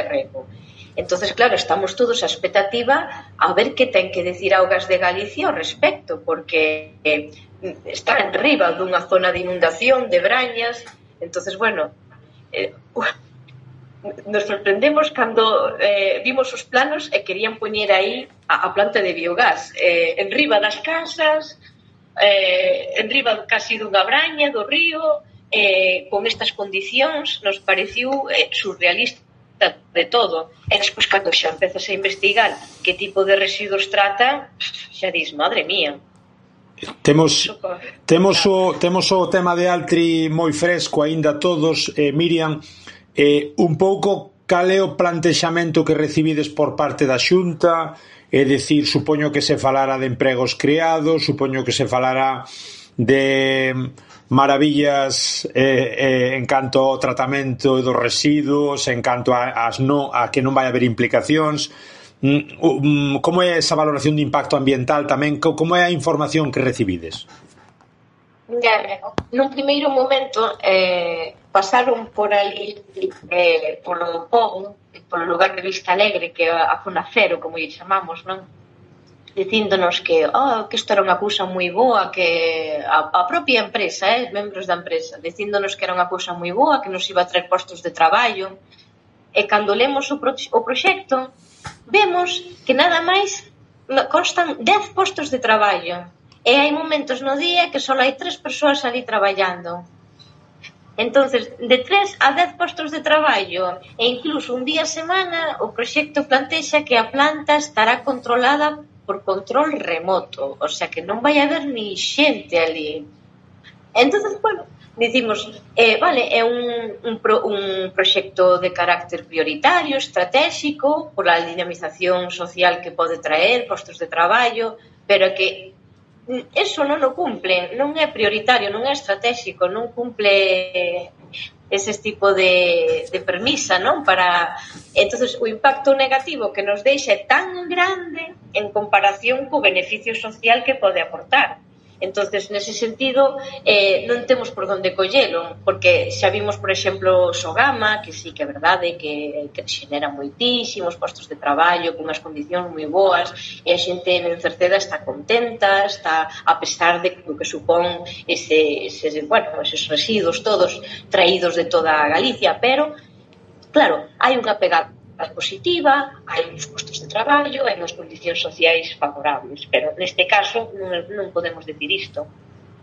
rego. Entonces, claro, estamos todos a expectativa a ver que ten que decir Augas de Galicia ao respecto, porque está en riba dunha zona de inundación, de brañas. Entonces, bueno, nos sorprendemos cando vimos os planos e querían poñer aí a planta de biogás en riba das casas, en riba casi dunha braña do río, con estas condicións. Nos pareciu surrealista de todo. E despois, cando xa empezas a investigar que tipo de residuos trata, xa dis, madre mía. Temos o tema de Altri moi fresco aínda todos, Miriam. Un pouco cal é o plantexamento que recibides por parte da Xunta? É dicir, supoño que se falará de empregos creados, supoño que se falará de maravillas en canto ao tratamento dos residuos, en canto a que non vai haber implicacións. Como é esa valoración de impacto ambiental tamén? Como é a información que recibides? Nun primeiro momento pasaron por ali polo pobo, polo lugar de Vista Alegre, que é a zona cero, como lle chamamos, non? Dicíndonos que isto era unha cousa moi boa, que a propia empresa, membros da empresa, dicíndonos que era unha cousa moi boa, que nos iba a traer postos de traballo. E cando lemos o proxecto, vemos que nada máis constan 10 postos de traballo. E hai momentos no día que só hai 3 persoas ali traballando. Entonces, de 3 a 10 postos de traballo e incluso un día a semana, o proxecto plantexa que a planta estará controlada por control remoto, o sea que non vai haber ni xente ali. Entonces, bueno, dicimos, vale, é un proxecto de carácter prioritario, estratégico, pola dinamización social que pode traer, postos de traballo, pero que eso non o cumple, non é prioritario, non é estratégico, non cumple ese tipo de premisa, non? Entonces, o impacto negativo que nos deixa é tan grande en comparación co beneficio social que pode aportar. Entonces, nese sentido, non temos por onde collelo, porque xa vimos, por exemplo, Sogama, que sí que é verdade que xenera moitísimos postos de traballo, con unhas condicións moi boas, e a xente en Cerceda está contenta, está a pesar de o que supón eses residuos todos traídos de toda a Galicia, pero, claro, hai unha pegada positiva, hai uns postos de traballo, hai unhas condicións sociais favorables, pero neste caso non podemos decir isto.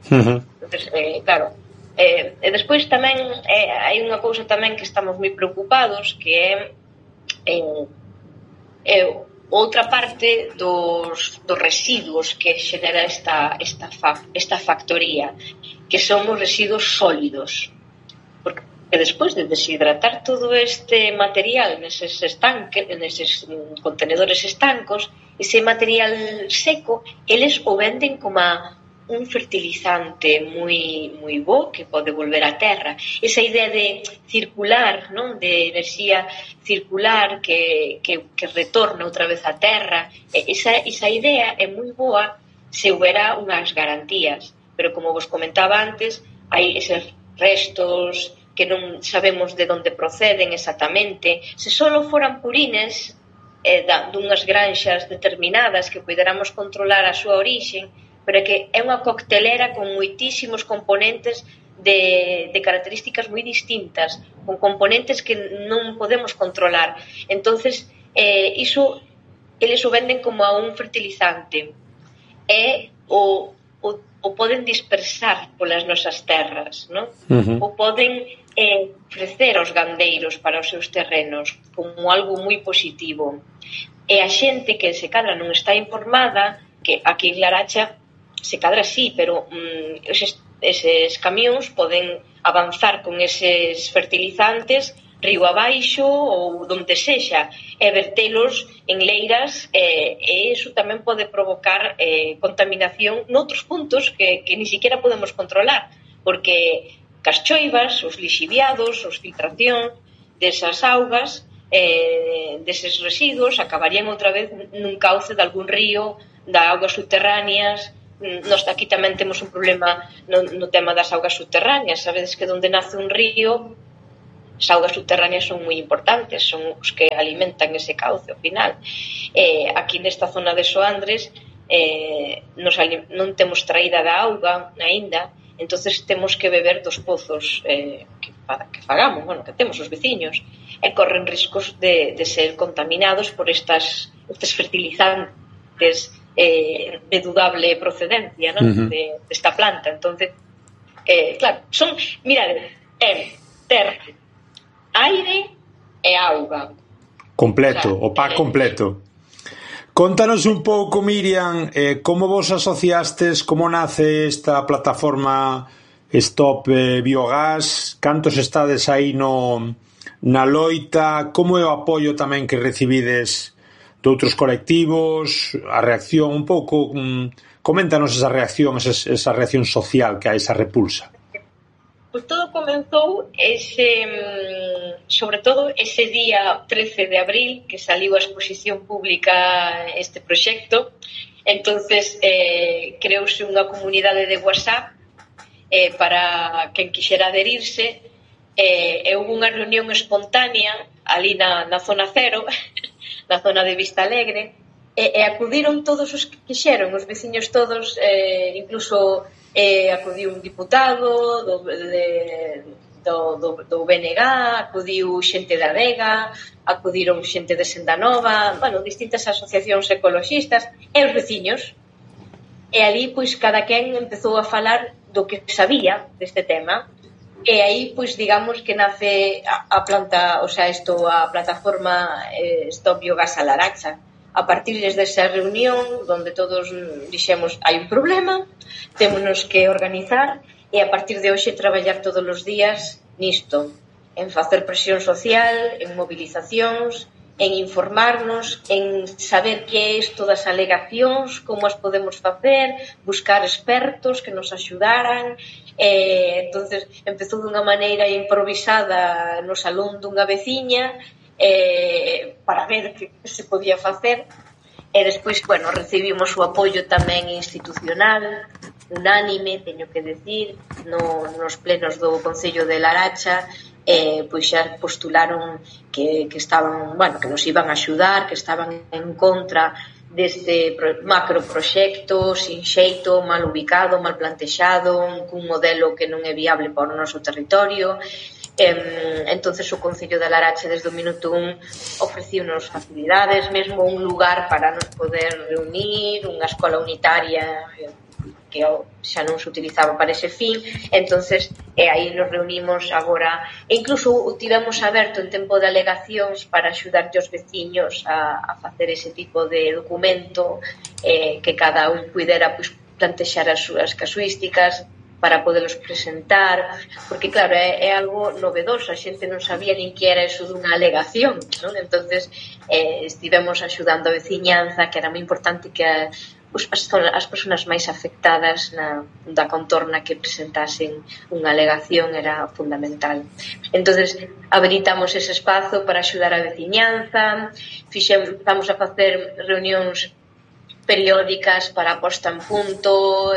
Entonces, claro, e despois tamén hai unha cousa tamén que estamos moi preocupados, que é outra parte dos residuos que xenera esta factoría, que son os residuos sólidos, porque despois de deshidratar todo este material neses contenedores estancos, ese material seco, eles o venden como un fertilizante moi bo que pode volver á terra. Esa idea de circular, non? De enerxía circular que retorna outra vez á terra, esa idea é moi boa se houbera unhas garantías, pero como vos comentaba antes, hai eses restos que non sabemos de onde proceden exactamente. Se só foran purines dunhas granxas determinadas que poderamos controlar a súa orixe, pero é que é unha coctelera con moitísimos componentes de características moi distintas, con componentes que non podemos controlar. Entonces, iso eles o venden como a un fertilizante e o poden dispersar polas nosas terras, non? O poden ofrecer aos gandeiros para os seus terrenos como algo moi positivo. E a xente que se cadra non está informada, que aquí en Laracha se cadra sí, pero eses camións poden avanzar con eses fertilizantes río abaixo ou donde sexa e vertelos en leiras, e iso tamén pode provocar contaminación noutros puntos que ni siquiera podemos controlar, porque cas choivas, os lixiviados, os filtración desas augas, deses residuos, acabarían outra vez nun cauce de algún río, da augas subterráneas. Nós aquí tamén temos un problema no tema das augas subterráneas. Sabedes que onde nace un río As augas subterráneas son moi importantes, son os que alimentan ese cauce ao final. Aquí nesta zona de Soandres non temos traída da auga aínda, entonces temos que beber dos pozos que fagamos, bueno, que temos os veciños, e corren riscos de ser contaminados por estes fertilizantes de dudable procedencia, ¿no? Desta planta. Entonces, claro, son, mirade, ter aire e auga. Completo, o pack completo. Contanos un pouco, Miriam, como vos asociastes, como nace esta plataforma Stop Biogás, cantos estades aí na loita, como é o apoio tamén que recibides de outros colectivos, a reacción un pouco, coméntanos esa reacción social que hai, esa repulsa. Pois todo comenzou sobre todo ese día 13 de abril que saliu a exposición pública este proxecto. Entonces creouse unha comunidade de WhatsApp para quen quixera adherirse, e houve unha reunión espontánea ali na zona cero, na zona de Vista Alegre, e acudiron todos os que quixeron, os veciños todos, incluso acudiu un diputado do BNG, acudiu xente da Vega, acudiron xente de Sendanova, bueno, distintas asociacións ecologistas e os veciños. E ali, pois, cada quen empezou a falar do que sabía deste tema, e aí, pois, digamos que nace a plataforma Stop Biogás a Laracha. A partir desa reunión, onde todos dixemos hai un problema, témonos que organizar, e a partir de hoxe traballar todos os días nisto, en facer presión social, en movilizacións, en informarnos, en saber que é isto das alegacións, como as podemos facer, buscar expertos que nos axudaran. Entonces empezou dunha maneira improvisada no salón dunha veciña, para ver que se podía facer, e despois, bueno, recibimos o apoio tamén institucional, unánime, teño que decir, nos plenos do Concello de Laracha, pois xa postularon que estaban, bueno, que nos iban a axudar, que estaban en contra deste macroproxecto sin xeito, mal ubicado, mal plantexado, cun modelo que non é viable para o noso territorio. Entonces o Concello de Laracha desde o minuto 1 ofreciunos facilidades, mesmo un lugar para nos poder reunir, unha escola unitaria que xa non se utilizaba para ese fin. Entonces aí nos reunimos agora, e incluso o tivemos aberto en tempo de alegacións para axudarte os veciños a facer ese tipo de documento, que cada un puidera plantexar as súas casuísticas para podelos presentar, porque claro, é algo novedoso, a xente non sabía nin que era eso dunha alegación, non? Entonces estivemos axudando a veciñanza, que era moi importante que as persoas máis afectadas da contorna que presentasen unha alegación, era fundamental. Entonces habilitamos ese espazo para axudar a veciñanza, estamos a facer reunións periódicas para a posta en punto,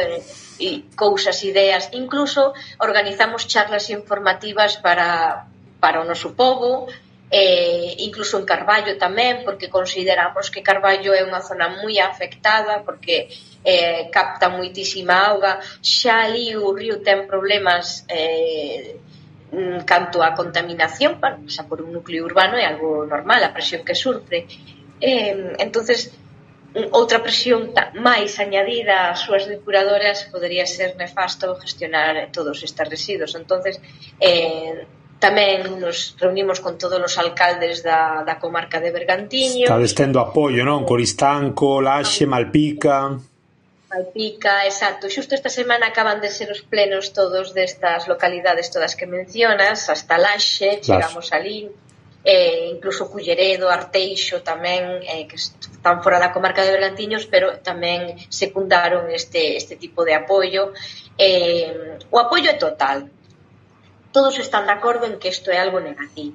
e cousas, ideas, incluso organizamos charlas informativas para o noso pobo, incluso en Carballo tamén, porque consideramos que Carballo é unha zona moi afectada, porque capta moitísima auga, xa ali o río ten problemas canto a contaminación, xa por un núcleo urbano é algo normal, a presión que sufre. Entonces outra presión máis añadida ás súas depuradoras podería ser nefasto gestionar todos estes residuos. Entonces tamén nos reunimos con todos os alcaldes da comarca de Bergantiños. Estades tendo apoio, non? Coristanco, Laxe, Malpica, exacto. Xusto esta semana acaban de ser os plenos todos destas localidades todas que mencionas, hasta Laxe, chegamos ali, incluso Culleredo, Arteixo tamén, que están fora da comarca de Bergantiños, pero tamén secundaron este tipo de apoio. O apoio é total, todos están de acordo en que isto é algo negativo.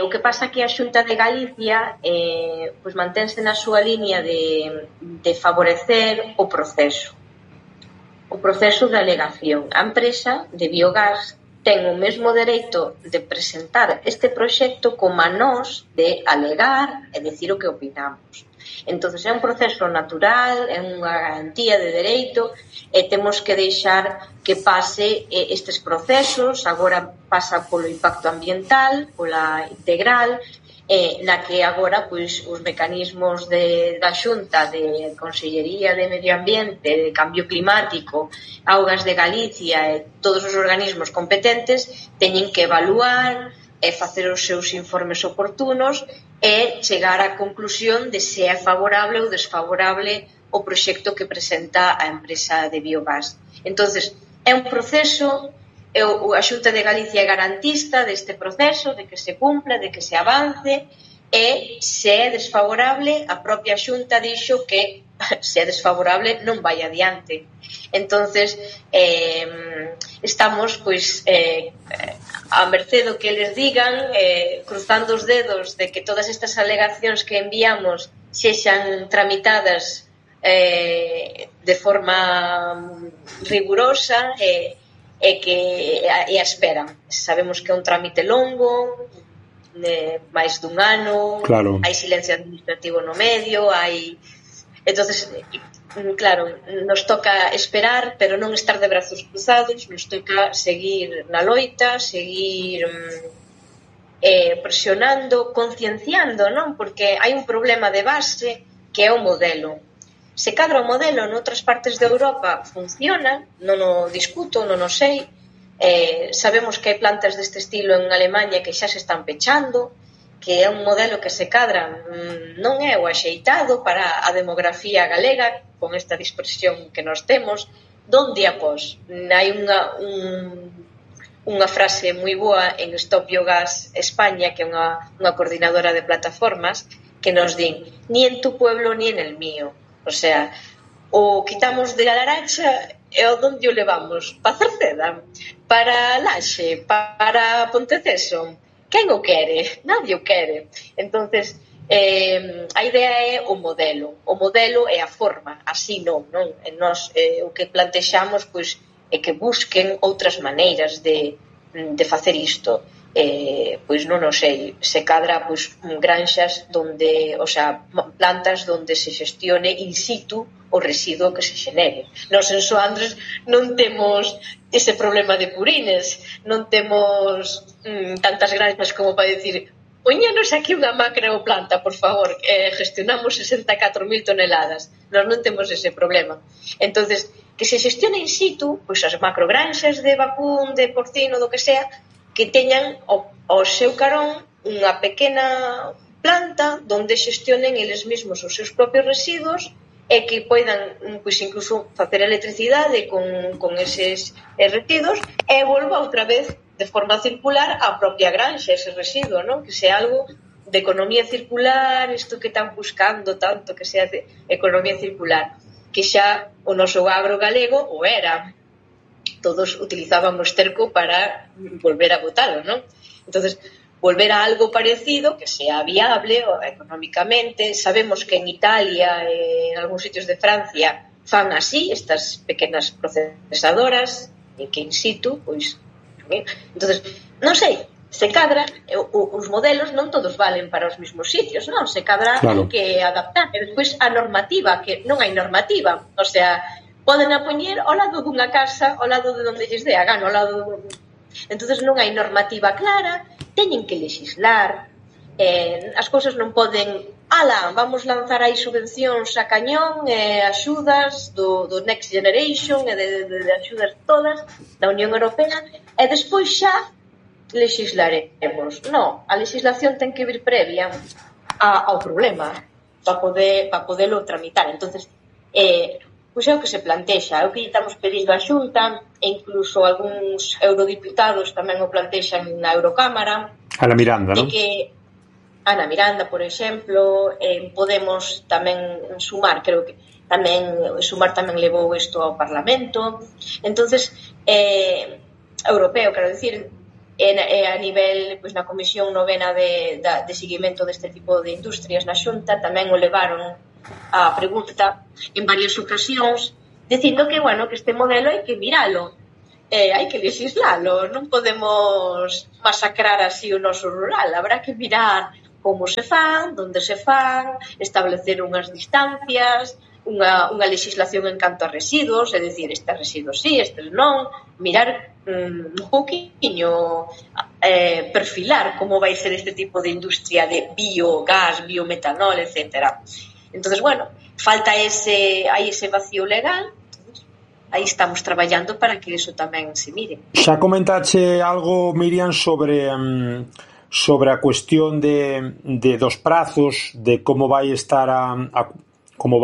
O que pasa que a Xunta de Galicia pois mantense na súa liña de favorecer o proceso de alegación. A empresa de biogás ten o mesmo dereito de presentar este proxecto como a nós de alegar e decir o que opinamos. Entón, é un proceso natural, é unha garantía de dereito e temos que deixar que pase estes procesos. Agora pasa polo impacto ambiental, pola integral, na que agora pois, os mecanismos da Xunta de Consellería de Medio Ambiente, de Cambio Climático, Augas de Galicia e todos os organismos competentes teñen que evaluar e facer os seus informes oportunos e chegar á conclusión de se é favorable ou desfavorable o proxecto que presenta a empresa de biogás. Entonces, é un proceso, a Xunta de Galicia é garantista deste proceso, de que se cumpla, de que se avance, e se é desfavorable, a propia Xunta dixo que se é desfavorable non vai adiante. Entonces, estamos pois a merced do que eles digan, cruzando os dedos de que todas estas alegacións que enviamos sexan tramitadas de forma rigurosa e a espera. Sabemos que é un trámite longo, máis dun ano, claro. Hai silencio administrativo no medio, hai... Entonces, claro, nos toca esperar, pero non estar de brazos cruzados, nos toca seguir na loita, seguir presionando, concienciando, non? Porque hai un problema de base que é o modelo. Se cadra o modelo noutras partes de Europa funciona, non o discuto, non o sei, sabemos que hai plantas deste estilo en Alemanha que xa se están pechando, que é un modelo que se cadra non é o axeitado para a demografía galega con esta dispersión que nós temos, donde após hai unha frase moi boa en Stop Biogás España, que é unha coordinadora de plataformas, que nos din, ni en tu pueblo ni en el mío. O sea, o quitamos de la Laracha e o donde o levamos? Para Cerceda? Para Laxe? Para Ponteceso? Quen o quere? Nadie o quere. Entonces, a idea é o modelo é a forma, así non? E nós o que plantexamos pois, é que busquen outras maneiras de facer isto. Pois non o sei, se cadra pois, granxas donde, o sea, plantas donde se xestione in situ o residuo que se xenere. Nos en Soandres non temos ese problema de purines, non temos tantas granxas como para decir poñanos aquí unha macroplanta, por favor, gestionamos 64.000 toneladas. Nós non temos ese problema. Entonces, que se xestione in situ, pois as macrogranxas de vacún, de porcino, do que sea, que teñan ao seu carón unha pequena planta donde xestionen eles mesmos os seus propios residuos e que poidan, pois, incluso facer electricidade con eses residuos e volva outra vez de forma circular á propia granxa ese residuo, non? Que sea algo de economía circular, isto que están buscando tanto, que sea de economía circular, que xa o noso agro galego o era. Todos utilizaban o esterco para volver a botalo, non? Entonces, volver a algo parecido que sea viable económicamente. Sabemos que en Italia e en algúns sitios de Francia fan así, estas pequenas procesadoras que in situ, pois, entonces, non sei, se cadra, os modelos non todos valen para os mesmos sitios, non? Se cadra claro. Hai que adaptar. E despois a normativa, que non hai normativa, o sea, poden a poñer ao lado dunha casa, ao lado de onde lles dé a gana, ao lado entonces non hai normativa clara, teñen que legislar, as cousas non poden vamos lanzar aí subvencións a cañón, axudas do Next Generation e de axudas todas da Unión Europea e despois xa legislaremos. Non, a legislación ten que vir previa ao problema para podelo tramitar. Entonces, pois é o que se plantexa, é o que estamos pedindo á Xunta, e incluso algúns eurodiputados tamén o plantexan na Eurocámara. Ana Miranda, non? Ana Miranda, por exemplo, Podemos tamén sumar, creo que Sumar tamén levou isto ao Parlamento. Entonces, europeo, quero dicir, a nivel, pois, na Comisión Novena de seguimento deste tipo de industrias na Xunta, tamén o levaron a pregunta en varias ocasións, dicindo que, bueno, que este modelo hai que miralo. hai que legislalo, non podemos masacrar así o noso rural, habrá que mirar como se fan, onde se fan, establecer unhas distancias, unha legislación en canto a residuos, é dicir, estes residuos sí, estes non, mirar un pouquiño, perfilar como vai ser este tipo de industria de biogás, biometanol, etc. Entonces, bueno, hai ese vacío legal. Aí estamos traballando para que iso tamén se mire. Xa comentache algo, Miriam, sobre a cuestión dos prazos, de como vai estar como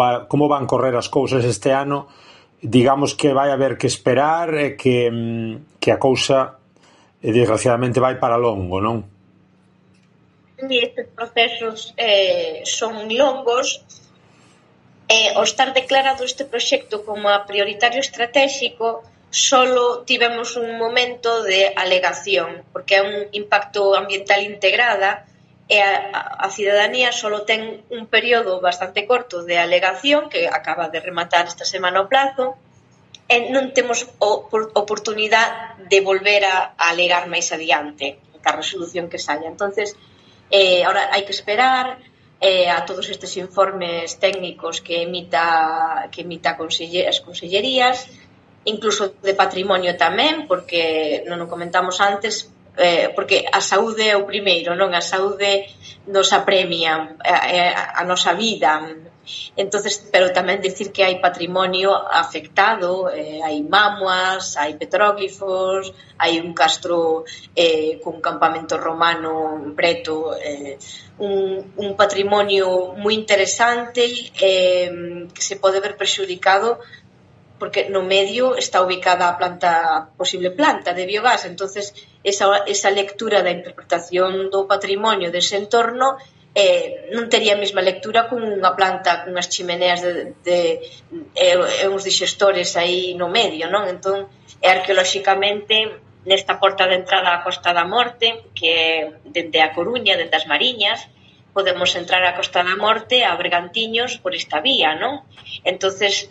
van correr as cousas este ano. Digamos que vai haber que esperar e que a cousa desgraciadamente vai para longo, non? E estes procesos son longos. Ao estar declarado este proxecto como a prioritario estratégico, solo tivemos un momento de alegación, porque é un impacto ambiental integrada e a cidadanía solo ten un período bastante corto de alegación, que acaba de rematar esta semana o plazo, e non temos oportunidade de volver a alegar máis adiante a resolución que saia. Entonces, ahora hai que esperar a todos estes informes técnicos que emita as consellerías, incluso de patrimonio tamén, porque non o comentamos antes, porque a saúde é o primeiro, non? A saúde nos apremia, a nosa vida. Entonces, pero tamén dicir que hai patrimonio afectado, hai mamuas, hai petróglifos, hai un castro cun campamento romano preto, un patrimonio moi interesante que se pode ver prexudicado porque no medio está ubicada a posible planta de biogás. Entonces esa lectura da interpretación do patrimonio dese entorno non tería a mesma lectura con unha planta con as chimeneas uns digestores aí no medio, non? Entón, arqueolóxicamente, nesta porta de entrada á Costa da Morte, que é dende a Coruña, dende as Mariñas, podemos entrar á Costa da Morte a Bergantiños por esta vía, non? Entonces,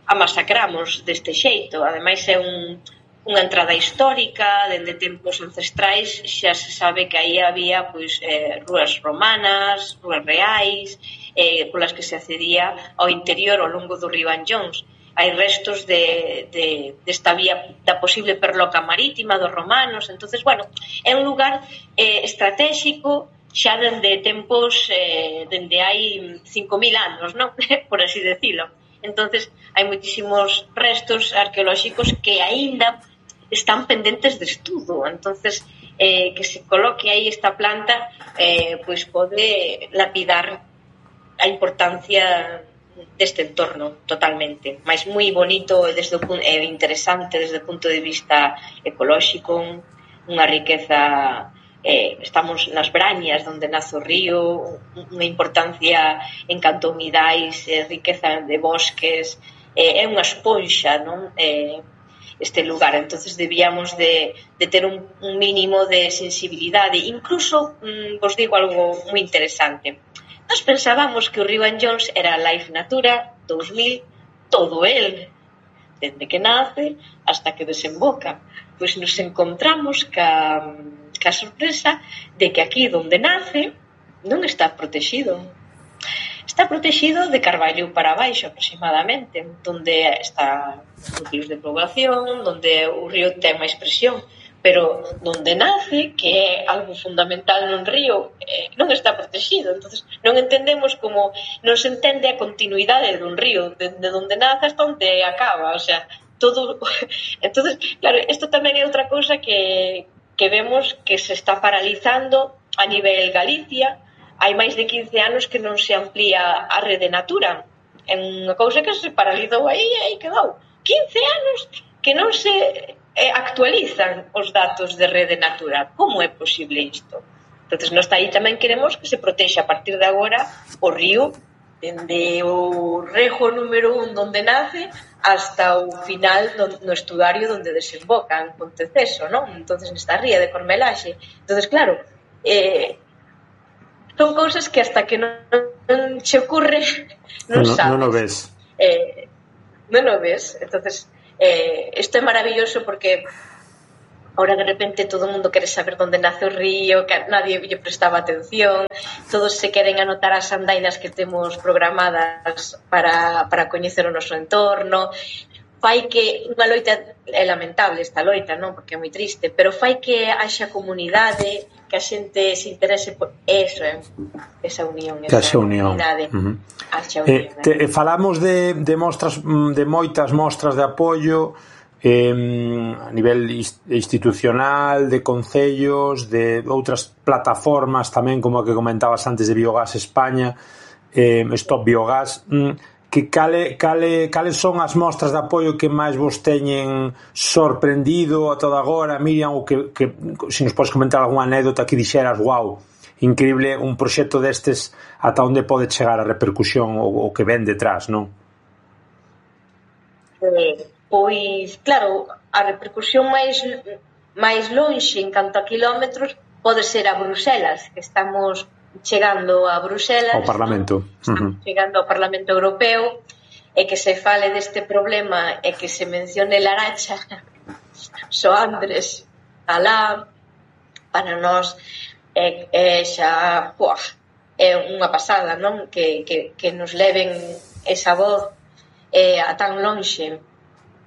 a masacramos deste xeito. Ademais, é unha entrada histórica, dende tempos ancestrais, xa se sabe que aí había rúas romanas, rúas reais, polas que se accedía ao interior ao longo do río Anllóns. Hai restos desta vía da posible perloca marítima dos romanos. Entonces, bueno, é un lugar estratégico xa dende tempos, dende hai 5.000 anos, non? Por así decirlo. Entonces, hai moitísimos restos arqueolóxicos que aínda están pendentes de estudo. Entonces, que se coloque aí esta planta pois pode lapidar a importancia deste entorno totalmente, mas moi bonito e interesante desde o punto de vista ecolóxico, unha riqueza. Estamos nas Brañas, onde nace o río, unha importancia en canto a humidais, riqueza de bosques, é unha esponxa, non? Este lugar, entonces debíamos de ter un mínimo de sensibilidade. Incluso, vos digo algo moi interesante, nós pensábamos que o río Anllóns era Life Natura 2000, todo el, desde que nace hasta que desemboca. Pois nos encontramos ca sorpresa de que aquí donde nace non está protegido. Está protegido de Carballo para baixo aproximadamente, donde está núcleos de población, donde o río ten máis presión, pero donde nace, que é algo fundamental nun río, non está protegido. Entonces, non entendemos como non se entende a continuidade dun río, de donde nace hasta onde acaba, o sea, todo. Entonces, claro, isto tamén é outra cousa que vemos que se está paralizando a nivel Galicia. Hai máis de 15 anos que non se amplía a rede Natura. É unha cousa que se paralizou aí e aí quedou. 15 anos que non se actualizan os datos de rede Natura. Como é posible isto? Entón, nós aí tamén queremos que se protexa a partir de agora o río, dende o rejo número 1 donde nace hasta o final no estuario donde desemboca en Ponteceso, non? Entón, nesta ría de Cormelaxe. Entón, claro, son cousas que hasta que non se ocurre non sabes. Non o ves. Non o ves. Entonces, Isto é maravilloso porque ahora de repente todo o mundo quere saber onde nace o río, que nadie lle prestaba atención, todos se queren anotar as andainas que temos programadas para coñecer o noso entorno. Fai que unha loita, é lamentable esta loita, non? Porque é moi triste, pero fai que haxa comunidade, que a xente se interese por eso, esa unión, esa comunidade. Falamos de mostras, de moitas mostras de apoio a nivel institucional, de concellos, de outras plataformas tamén, como a que comentabas antes de Biogás España, Stop Biogás. Que cales son as mostras de apoio que máis vos teñen sorprendido a toda agora, Miriam, ou que se nos podes comentar algunha anécdota que dixeras, wow, increíble un proxecto destes, ata onde pode chegar a repercusión o que ven detrás, non? Pois, claro, a repercusión máis lonxe en canto a kilómetros pode ser a Bruselas, que estamos chegando a Bruselas, ao Parlamento, chegando ao Parlamento Europeo, e que se fale deste problema e que se mencione Laracha, Soandres, alá, para nós xa é unha pasada, non? Que nos leven esa voz a tan lonxe,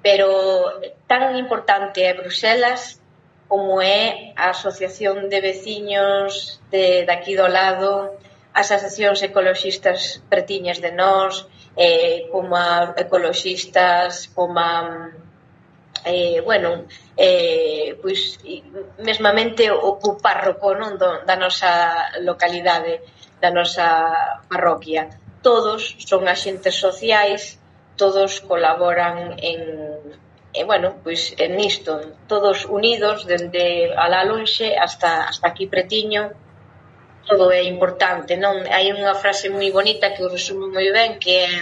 pero tan importante é Bruselas como é a Asociación de Veciños de aquí do lado, as asociacións ecoloxistas pretiñas de nós, como a ecoloxistas, como a pois mesmamente o párroco, non, da nosa localidade, da nosa parroquia. Todos son axentes sociais, todos colaboran pois nisto, todos unidos dende alá lonxe hasta aquí pretiño. Todo é importante, non? Hai unha frase moi bonita que o resume moi ben, que é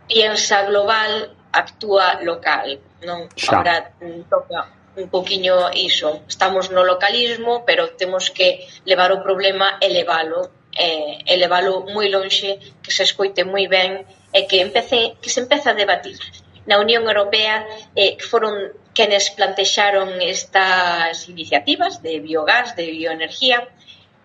piensa global, actúa local, non? Agora toca un poquinho iso. Estamos no localismo, pero temos que levar o problema e levalo moi lonxe, que se escoite moi ben e que se empece a debatir. Na Unión Europea foron quenes plantexaron estas iniciativas de biogás, de bioenergía,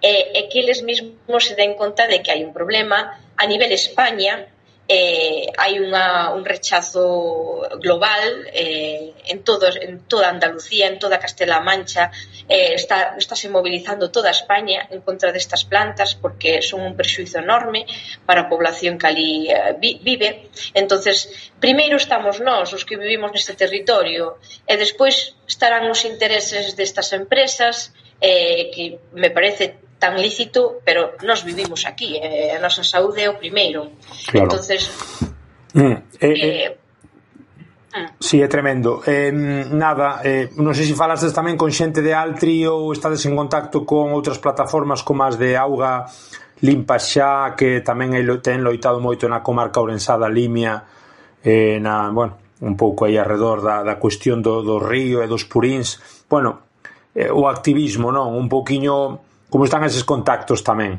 e que eles mesmos se den conta de que hai un problema a nivel España. Hai un rechazo global en toda Andalucía, en toda Castela-A Mancha, estáse mobilizando toda España en contra destas plantas porque son un perxuízo enorme para a población que ali vive. Entonces, primeiro estamos nós, os que vivimos neste territorio, e despois estarán os intereses destas empresas, que me parece tan lícito, pero nós vivimos aquí, a nosa saúde é o primeiro. Claro. Entonces si, é tremendo. Non sei se falastes tamén con xente de Altri ou estades en contacto con outras plataformas como as de Auga Limpa Xa, que tamén ten loitado moito na comarca ourensá da Limia, un pouco aí arredor da cuestión do río e dos puríns. O activismo, non? Un pouquiño. Como están eses contactos tamén?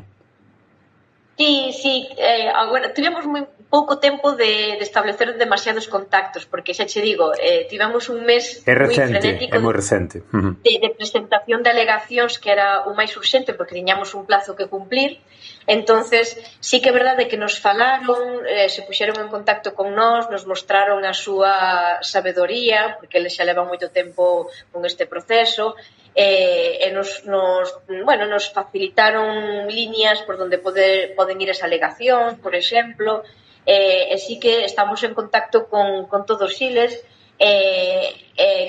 Sí, agora tivemos moi pouco tempo de establecer demasiados contactos, porque xa che digo, tivemos un mes moi frenético, é moi recente, de presentación de alegacións, que era o máis urxente, porque tiñamos un plazo que cumplir. Entonces, sí que é verdade que nos falaron, se puxeron en contacto con nós, nos mostraron a súa sabedoría, porque eles xa levan moito tempo con este proceso, e nos facilitaron líneas por donde poden ir as alegacións, por exemplo, e sí que estamos en contacto con todos eles,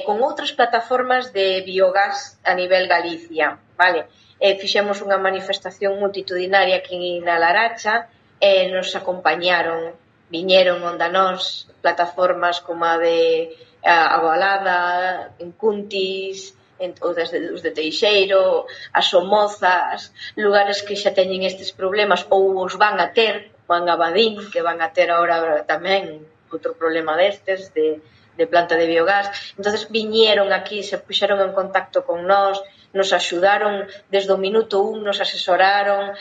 con outras plataformas de biogás a nivel Galicia, vale? Fixemos unha manifestación multitudinaria aquí na Laracha, e nos acompañaron, viñeron onde nós plataformas como a de Agualada, en Cuntis, os de Teixeiro, as Somozas, lugares que xa teñen estes problemas ou os van a ter, van a Badín, que van a ter agora tamén outro problema destes de planta de biogás. Entonces viñeron aquí, se puxeron en contacto con nós, nos axudaron desde o minuto 1, nos asesoraron,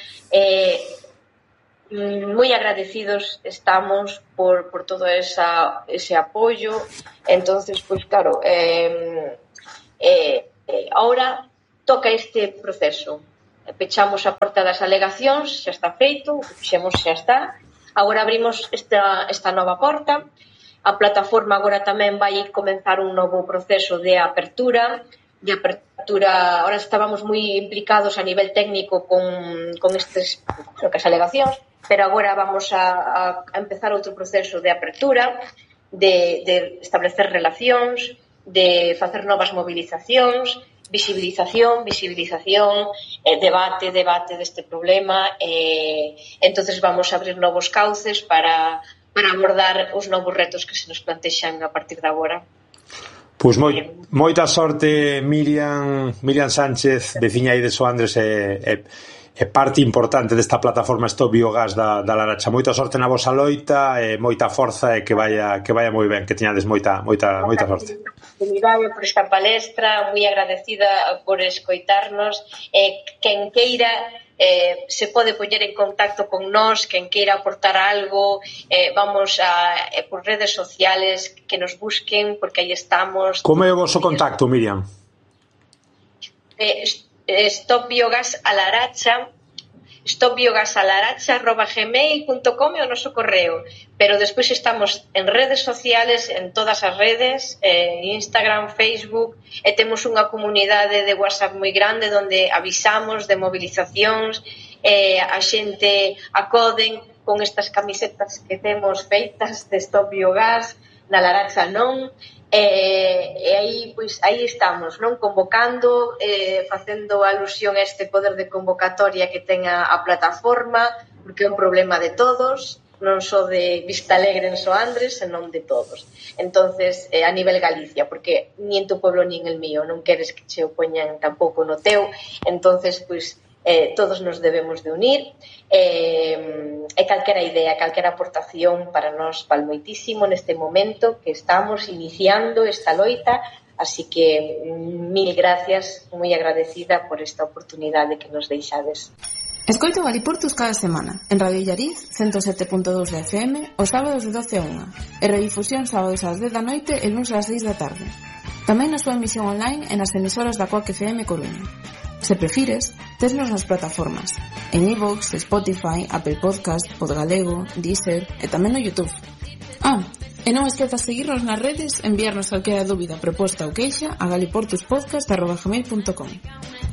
moi agradecidos estamos por todo ese apoio. Entonces, pues claro, ahora toca este proceso. Pechamos a porta das alegacións, xa está feito, xa está. Agora abrimos esta nova porta. A plataforma agora tamén vai comenzar un novo proceso de apertura. Ahora estábamos moi implicados a nivel técnico con estes alegacións, pero agora vamos a empezar outro proceso de apertura, de establecer relacións, de facer novas movilizacións, visibilización, debate deste problema. Entonces vamos a abrir novos cauces para abordar os novos retos que se nos plantexan a partir de agora. Pois moita sorte, Miriam Sánchez, veciña aí de Soandres e parte importante desta plataforma Stop Biogás da Laracha. Moita sorte na vosa loita e moita forza e que vaya moi ben, que teñades moita sorte. Oportunidade por esta palestra, moi agradecida por escoitarnos. Quen queira se pode poñer en contacto con nós, quen queira aportar algo, vamos por redes sociales, que nos busquen, porque aí estamos. Como é o voso contacto, Miriam? stopbiogasalaracha@gmail.com é o noso correo, pero despois estamos en redes sociales, en todas as redes, Instagram, Facebook, e temos unha comunidade de WhatsApp moi grande onde avisamos de movilizacións, a xente acoden con estas camisetas que temos feitas de Stop Biogás, na Laracha non, e aí estamos, non, convocando, facendo alusión a este poder de convocatoria que ten a plataforma, porque é un problema de todos, non só de Vistalegre en Soandres, senón de todos. Entonces, a nivel Galicia, porque nin tu pueblo nin el mío, non queres que che o poñan tampouco no teu. Entonces, pois, todos nos debemos de unir, e calquera idea, calquera aportación para nós val moitísimo neste momento que estamos iniciando esta loita, así que mil gracias, moi agradecida por esta oportunidade que nos deixades. Escoito Galiportus cada semana en Radio Illariz 107.2 de FM os sábados de 12 a 1 e redifusión sábados ás 10 da noite e luns ás 6 da tarde. Tamén na súa emisión online e nas emisoras da Coac FM Coruña. Se prefires, tesnos nas plataformas en iVoox, Spotify, Apple Podcast, Podgalego, Deezer e tamén no YouTube. E non esquezas seguirnos nas redes e enviarnos calquera dúbida, proposta ou queixa a galiportuspodcast@gmail.com.